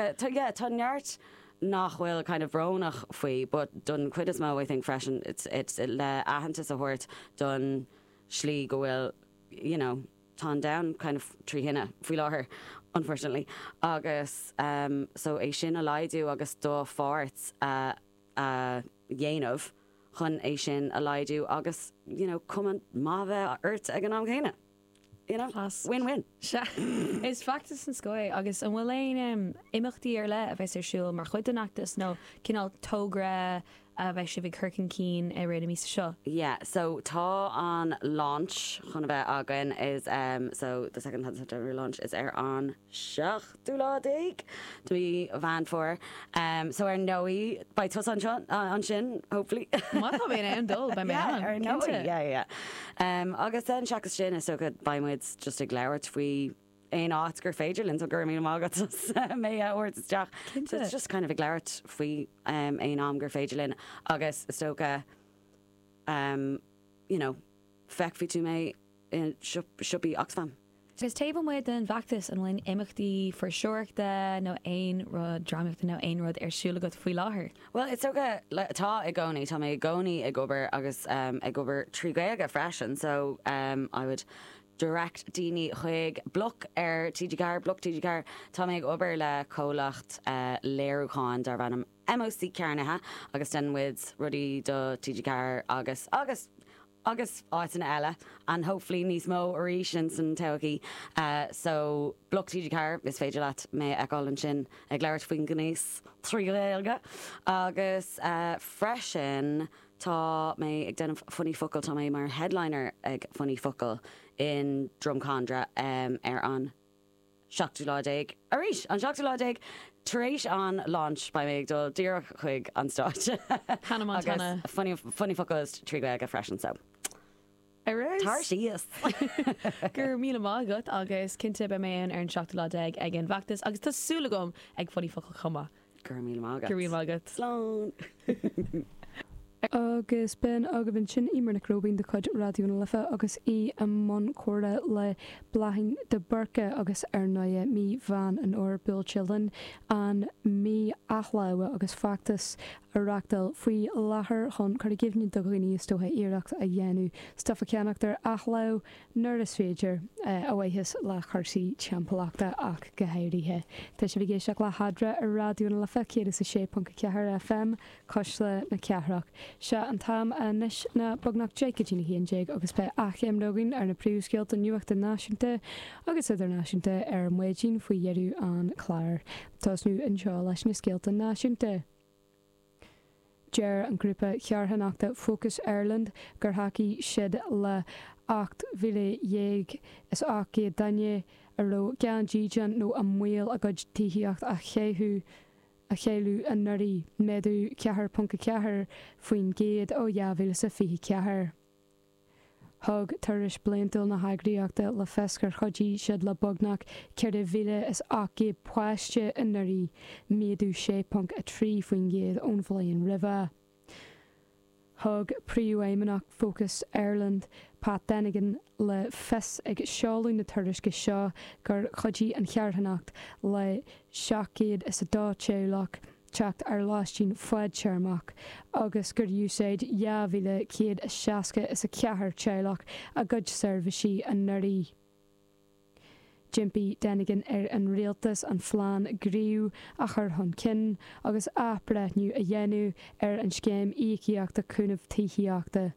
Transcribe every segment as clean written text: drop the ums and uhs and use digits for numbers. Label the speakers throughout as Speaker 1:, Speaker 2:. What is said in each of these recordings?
Speaker 1: dócha, tá, yeah, tá neart nach bhfuil kind of brónach faoi but don chuid is mó I think freisin it's, it's le aitheantas a thabhairt don slí go bhfuil, you know, tá an domhan kind of trí thine faoi láthair unfortunately agus um so é sin a laghdú agus do pháirt a a dhéanamh chun é sin a laghdú agus you know cuma maith a bheith ort ag an am céanna. You know?
Speaker 2: Class.
Speaker 1: Win-win.
Speaker 2: Sea. Is feachtas den scoth é. Agus an bhfuil aon imeachtaí ar leith a bheas ar siúl mar chuid den fheachtas nó cineál togra a bheidh sibh ag cur chun cinn i rith na míosa seo?
Speaker 1: Yeah, so tá an launch chun a bheith againn is um so the second hand September launch is ar an seachtú lá déag de mhí Mheán Fómhair. Um so ar ndóigh beidh tusa anseo ansin hopefully.
Speaker 2: Má tá mé in ann dul beidh mé
Speaker 1: Yeah,
Speaker 2: ann,
Speaker 1: ar ndóigh,
Speaker 2: cinnte.
Speaker 1: yeah, yeah. Um agus then seachas sin is dócha beidh muid just ag labhairt faoi aon áit gur féidir linn so go raibh míle maith agat as mé a thabhairt isteach.
Speaker 2: Cinnte.
Speaker 1: So it's just kind of ag labhairt faoi um aon am gur féidir linn agus is dócha um you know feicfidh tú mé i siopaí Oxfam.
Speaker 2: Agus taobh amuigh den bhfeachtas, an bhfuil aon imeachtaí fuirseoireachta nó aon rud drámaíochta nó aon rud ar siúl agat faoi láthair?
Speaker 1: Bhuel, is dócha, tá i gcónaí, tá mé i gcónaí ag obair agus ag obair trí Ghaeilge freisin so I would direct daoine chuig Bloc ar TG4, Bloc TG4. Tá mé ag obair le comhlacht léiriúcháin darb ainm MOC Cearnaithe agus déanann muid rudaí do TG4 agus agus agus áiteanna eile and hopefully níos mó arís in san todhchaí. So Bloc TG4, is féidir leat mé a fheiceáil ansin ag labhairt faoin ngnéas trí Ghaeilge. Agus freisin tá mé ag déanamh Funny Focal, tá mé mar headliner ag Funny Focal in Drumcondra ar an seachtú lá déag arís, an seachtú lá déag tar éis an launch beidh mé ag dul díreach chuig an stáitse
Speaker 2: Hannah Montana.
Speaker 1: agus funny, funny focals trí Ghaeilge freisin so
Speaker 2: Ar fheabhas!
Speaker 1: tar síos!
Speaker 2: Go raibh míle maith agat agus cinnte beidh mé ann ar an seachtú lá déag ag an bhfeachtas agus tá súil agam ag Funny Focal chomh maith.
Speaker 1: Go raibh míle maith agat.
Speaker 2: Go raibh míle maith agat.
Speaker 1: Slán!
Speaker 3: Agus b'in agaibh ansin Eimear Nic Róibín de chuid Raidió na Life agus í i mbun comhrá le Bláithín de Búrca agus ar ndóighe mí Mheán an Fhómhair buailte linn, an mí athláimhe agus feachtas á reachtáil faoi láthair chun cur i gcuimhne do dhaoine is dócha iarracht a dhéanamh stuif a cheannacht ar athlámh nuair is féidir, a mhaitheas le cúrsaí timpeallachta ach go háirithe. Tá sibh ag éisteacht le hEadra ar Raidió na Life 106.4 FM, Cuisle na Cathrach. Sé an t-am anois ná beagnach 11 go dtí a 11 agus beidh achoimre againn ar na príomhscéalta nuachta náisiúnta agus idirnáisiúnta ar maidin faoi dheireadh an chláir. Tosnú anseo leis na scéalta náisiúnta. Deir an grúpa charthanachta Focus Ireland gur thacaigh siad le 18,800 duine a raibh gan dídean nó i mbaol a gcuid tithíocht a chailleadh a chailleadh anuraidh, méadú 4.4% ó 2024. Thug tuairisc bliantúil na heagraíochta le fios gur chuidigh siad le beagnach 4,800 páiste anuraidh, méadú 6.3% ón bhliain roimhe. Thug Príomhfheidhmeannach Focus Ireland, Pat Dennigan, le fios ag seoladh na tuairisce seo gur chuidigh an charthanacht le 702 teaghlach teacht ar lóistín fadtéarmach agus gur úsáid 2,164 teaghlach a gcuid seirbhísí anuraidh. D'impigh Dennigan ar an rialtas an phlean Gníomh a chur chun cinn agus athbhreithniú a dhéanamh ar an scéim íocaíochta cúnaimh tithíochta.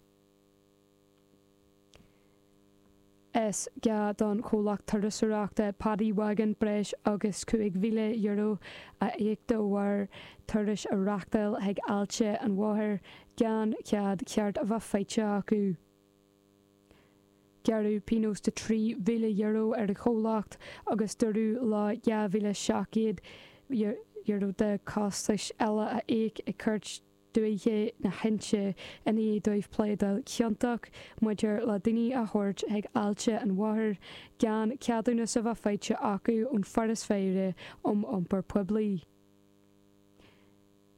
Speaker 3: Is gá don chomhlacht turasóireachta Paddy Wagon breis agus €5,000 a íoc de bharr turais a reáchtáil chuig Aillte an Mhothair gan cead ceart a bheith faighte acu. Gearradh pionós de €3,000 ar an chomhlacht agus dúradh leo €2,700 de chostais eile a íoc ag Cúirt Dúiche na hInse i ndiaidh dóibh pléadáil ciontach maidir le daoine a thabhairt chuig Aillte an Mhothair gan ceadúnas a bheith faighte acu ón Foras Faire um Iompar Poiblí.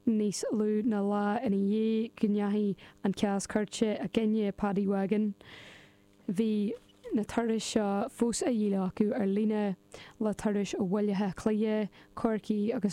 Speaker 3: Níos lú ná lá ina dhiaidh go ndeachaigh an cás cúirte i gcoinne Paddy Wagon, bhí na turais seo fós á dhíol acu ar líne, le turais ó Bhaile Átha Cliath, Corcaigh agus.